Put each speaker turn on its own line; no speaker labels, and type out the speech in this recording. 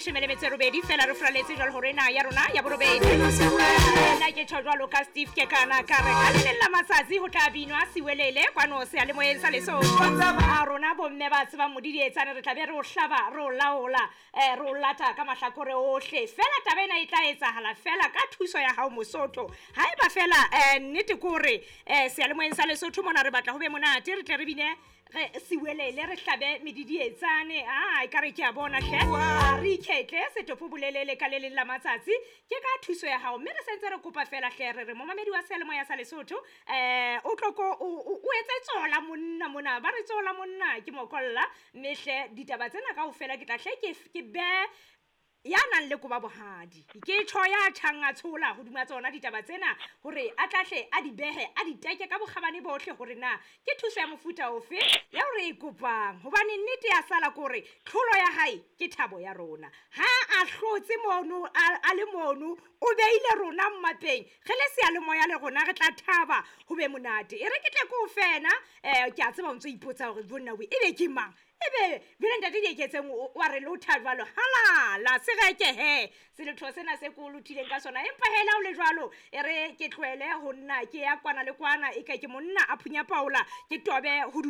leshome le metso e robedi fela re furaletse jwalo hore ena ya rona ya borobedi. Nna ke tjho jwalo ka Steve Kekana ka re ka le leng la matsatsi ho tla binwa siwelele kwano seyalemoyeng sa Lesotho. A rona bomme ba tsebang modidietsane re tla be re o hlaba, re o laola, re o lata ka mahlakore ohle. Fela taba ena e tla etsahala fela ka thuso ya hao Mosotho. Haeba fela nnete ke hore seyalemoyeng sa Lesotho mona re batla ho be monate, re tle re bine re siwelele, re hlabe medidietsane. Ah, ekare ke a bona hle. A re iketle setopo bolelele ka le leng la matsatsi ke ka thuso ya hao. Mme re sentse re kopa fela hle re re momamedi wa seyalemoya sa Lesotho o tlo ko o etse tsola monna mona, ba re tsola monna ke mokolla. Mme hle ditaba tsena kaofela ke tla hle ke be ya nang le koba bohadi, ke tjho ya tjhang a tshola hodima tsona ditaba tsena hore a tla hle a di behe, a di teke ka bokgabane bohle hore na ke thuso ya mofuta ofe ya hore e kopang. Hobane nnete ya sala ke hore tlholo ya hae ke thabo ya rona. Ha a hlotse mono, a le mono, o beile rona mmapeng, re le seyalemoya le rona re tla thaba ho be monate. E re ke tle ke o fena, ke a tseba o ntso ipotsa hore bonna we ebe ke mang? Ebe jwale ntate Dieketseng wa re lotha jwalo, halala se reke he seletho sena se ko lothileng ka sona. Empa he le ha o le jwalo, e re ke tlohele ho nna ke ya kwana le kwana, e ka ke monna a phunya paola, ke tobe hodimo.